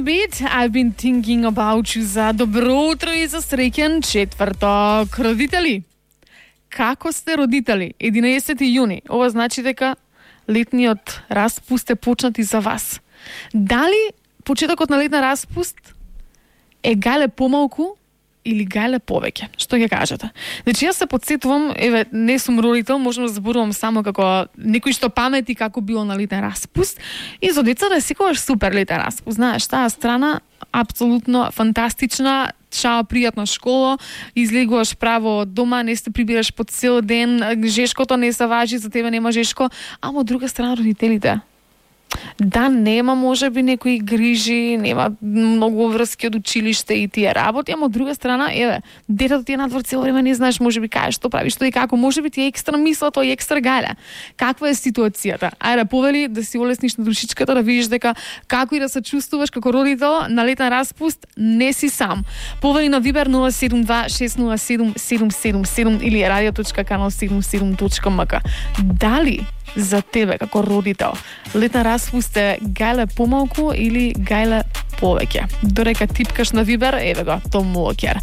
Lemon Beat, I've been thinking about you за добро утро и за среќен четврток. Родители, како сте родители? 11 јуни. Ова значи дека летниот распуст е почнат и за вас. Дали почетокот на летна распуст е гајле помалку или гајле повеќе? Што ќе кажете? Значи, јас се подсетувам, еве, не сум родител, можам да зборувам само како некој што памети како било на летен распуст. И за децата е секогаш супер летен распуст. Знаеш, таа страна апсолутно фантастична, чао пријатна школа, излегуваш право од дома, не се прибираш по цел ден, жешкото не се важи, за тебе нема жешко, ама од друга страна родителите. Да, нема можеби некои грижи, нема многу врски од училиште и тие работи, ама од друга страна, еве, детето ти е надвор цело време, не знаеш можеби кај што прави, што и како, можеби ти е екстра мисла, тоа е екстра гајле. Каква е ситуацијата? Ајде, повели да си олесниш на душичката, да видиш дека како и да се чувствуваш како родител на летен распуст, не си сам. Повели на Viber 072-607-777 или radio.canal77.mk. Дали за тебе како родител летен распуст е гајле помалку или гајле повеќе? Дорека типкаш на Viber, еве го, Том Уокер.